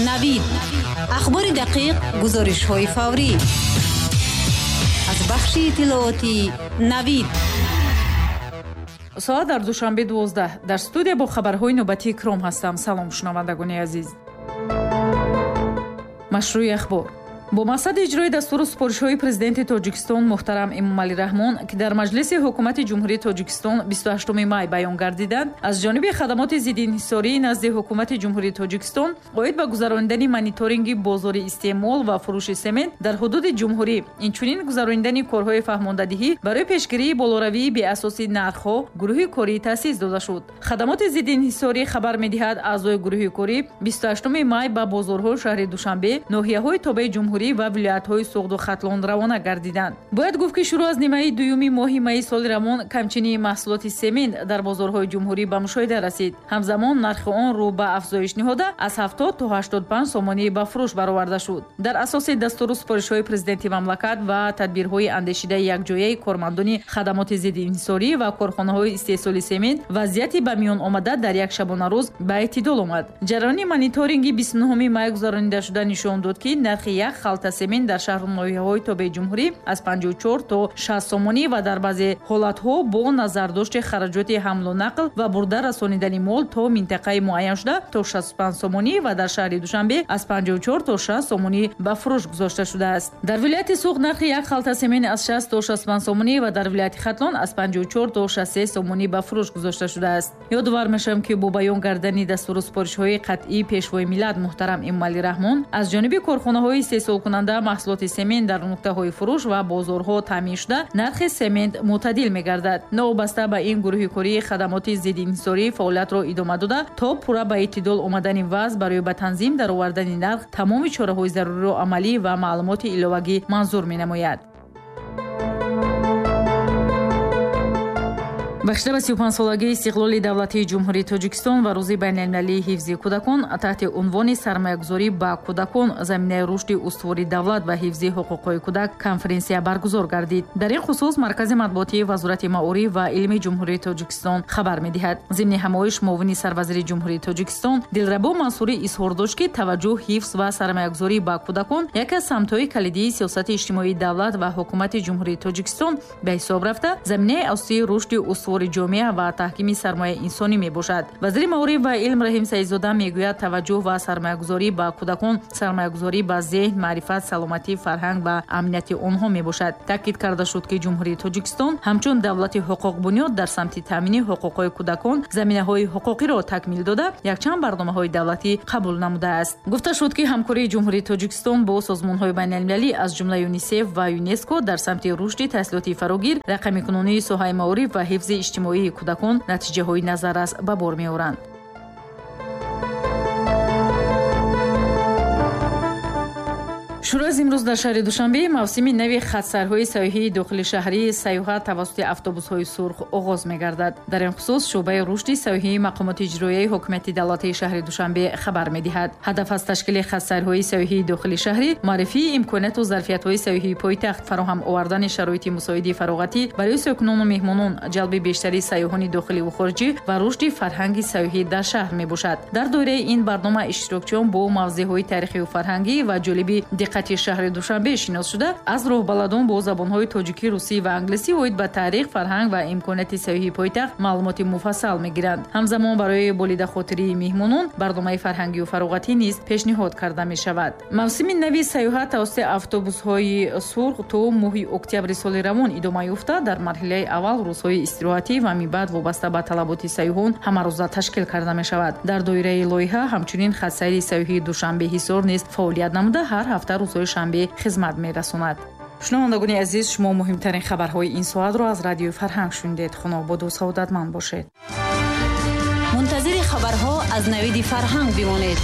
Навид. Ахбори дақиқ, гузоришҳои фаврӣ. Аз бахши иттилоотии Навид. Соат дар Душанбе 12. Дар студия бо хабарҳои навбатии Икром ҳастам. Салом, шунавандагони азиз. Машрӯи ахбор. Бо мақсади иҷрои дастуру супоришҳои президенти Тоҷикистон муҳтарам Эмомалӣ Раҳмон, ки дар Маҷлиси ҳукумати Ҷумҳурии Тоҷикистон 28 май баён гардиданд, аз ҷониби хадамоти зиддиинҳисории назди ҳукумати Ҷумҳурии Тоҷикистон оид ба гузаронидани мониторинги бозори истеъмол ва фурӯши семент дар ҳудуди ҷумҳурӣ, инчунин гузаронидани корҳои фаҳмондадиҳӣ барои пешгирии болоравии беасоси нархҳо гурӯҳи корӣ таъсис дода шуд. Хадамоти зиддиинҳисорӣ хабар медиҳад, аъзои гурӯҳи корӣ 28 май ба бозорҳои шаҳри Душанбе, ноҳияҳои тобеи ҷумҳурӣ ва вилоятҳои Суғду Хатлон равона гардиданд. Бояд гуфт, ки шурӯъ аз нимаи дуюми моҳи майи соли равон камчинии маҳсулоти семент дар бозорҳои ҷумҳурӣ ба мушоҳида расид. Ҳамзамон нархи он рӯ ба афзоиш ниҳода аз 70 то 85 сомонӣ ба фурӯш бароварда шуд. Дар асоси дастуру супоришҳои президенти мамлакат ва тадбирҳои андешидаи якҷояи кормандони хадамоти зиддиинҳисорӣ ва корхонаҳои истеҳсоли семент, вазъияти ба миён омада дар як шабонарӯз ба эътидол омад. Ҷараёни мониторинги 29 май гузаронида шуда нишон дод, ки нархи як халта семент дар шаҳру ноҳияҳои тобеи ҷумҳурӣ аз 54 то 60 сомонӣ ва дар баъзе ҳолатҳо бо назардошти хараҷоти ҳамлу нақл ва бурда расонидани мол то минтақаи муайяншуда то 65 сомонӣ ва дар шаҳри Душанбе аз 54 то 60 сомонӣ ба фурӯш гузошта шудааст. Дар вилояти Суғд нархи як халта семент аз 60 то 65 сомонӣ ва дар вилояти Хатлон аз 54 то 63 сомонӣ ба фурӯш гузошта шудааст. Ёдовар мешавем, ки бо баён гардани дастуру супоришҳои қатъии пешвои миллат муҳтарам Эмомалӣ Раҳмон аз ҷониби корхонаҳои истеҳсолкунанда маҳсулоти семент дар нуқтаҳои фурӯш ва бозорҳо таъмин шуда, нархи семент мӯътадил мегардад. Новобаста ба ин, гурӯҳи кории хадамоти зиддиинҳисорӣ фаъолиятро идома дода, то пурра ба эътидол омадани вазъ барои ба танзим даровардани нарх тамоми чораҳои заруриро амалӣ ва маълумоти иловагӣ манзур менамояд. Бахшида ба 35-солагии истиқлоли давлатии Ҷумҳурии Тоҷикистон ва Рӯзи байналмилалии ҳифзи кӯдакон таҳти унвони «Сармоягузорӣ ба кӯдакон: заминаи рушди устувори давлат ва ҳифзи ҳуқуқҳои кӯдак» конференсия баргузор гардид. Дар ин хусус Маркази матбуотии Вазорати маориф ва илми Ҷумҳурии Тоҷикистон хабар медиҳад. Зимни ҳамоиш муовини сарвазири Ҷумҳурии Тоҷикистон Дилрабо Мансурӣ изҳор дошт, ки таваҷҷӯҳ, ҳифз ва сармоягузорӣ ба кӯдакон яке аз самтҳои калидии сиёсати иҷтимоии давлат ва ҳукумати Ҷумҳурии Тоҷикистон ба ҳисоб рафта, заминаи асосии рушди устувори ҷомеа ва таҳкими сармояи инсонӣ мебошад. Вазири маориф ва илм Раҳим Саидзода мегӯяд, таваҷҷӯҳ ва сармоягузорӣ ба кӯдакон сармоягузорӣ ба зеҳн, маърифат, саломатӣ, фарҳанг ва амнияти онҳо мебошад. Таъкид карда шуд, ки Ҷумҳурии Тоҷикистон ҳамчун давлати ҳуқуқбунёд дар самти таъмини ҳуқуқҳои кӯдакон заминаҳои ҳуқуқиро такмил дода, якчанд барномаҳои давлатӣ қабул намудааст. Гуфта шуд, ки ҳамкории Ҷумҳурии Тоҷикистон бо созмонҳои байналмилалӣ аз ҷумла ЮНИСЕФ ва ЮНЕСКО дар самти рушди таҳсилоти фарогир, рақамикунонии соҳаи маориф ва ҳифзи иҷтимоии кӯдакон натиҷаҳои назаррас ба бор меоранд. Шурӯъ аз имрӯз дар шаҳри Душанбе мавсими нави хатсайрҳои сайёҳии дохили шаҳрии сайёҳат тавассути автобусҳои сурх оғоз мегардад. Дар ин хусус шӯъбаи рушди сайёҳии мақомоти иҷроияи ҳукумати давлатии шаҳри Душанбе хабар медиҳад. Ҳадаф аз ташкили хатсайрҳои сайёҳии дохили шаҳрӣ маърифии имконияту зарфиятҳои сайёҳии пойтахт, фароҳам овардани шароити мусоиди фароғатӣ барои сокинону меҳмонон, ҷалби бештари сайёҳони дохиливу хориҷӣ ва рушди фарҳанги сайёҳӣ дар шаҳр мебошад. Дар доираи ин барнома иштирокчиён бо мавзеъҳои таърихию фарҳангӣ ва ҷолиби диққати шаҳри Душанбе шинос шуда, аз роҳбаладон бо забонҳои тоҷикӣ, русӣ ва англисӣ оид ба таърих, фарҳанг ва имконияти сайёҳии пойтахт маълумоти муфассал мегиранд. Ҳамзамон барои болидахотирии меҳмонон барномаи фарҳангию фароғатӣ низ пешниҳод карда мешавад. Мавсими нави сайёҳат тавассути автобусҳои сурх то моҳи октябри соли равон идома ёфта, дар марҳилаи аввал рӯзҳои истироҳатӣ ва мибаъд вобаста ба талаботи сайёҳон ҳамарӯза ташкил карда мешавад. Дар доираи лоиҳа ҳамчунин хатсайри сайёҳии Душанбе Ҳисор низ фаъолият намуда, ҳар ҳафта рӯзҳои шанбе хизмат мерасонад. Шунавандагони азиз, шумо муҳимтарин хабарҳои ин соатро аз радиои Фарҳанг шунидед. Хунободу саодатманд бошед. Мунтазири хабарҳо аз Навиди Фарҳанг бимонед.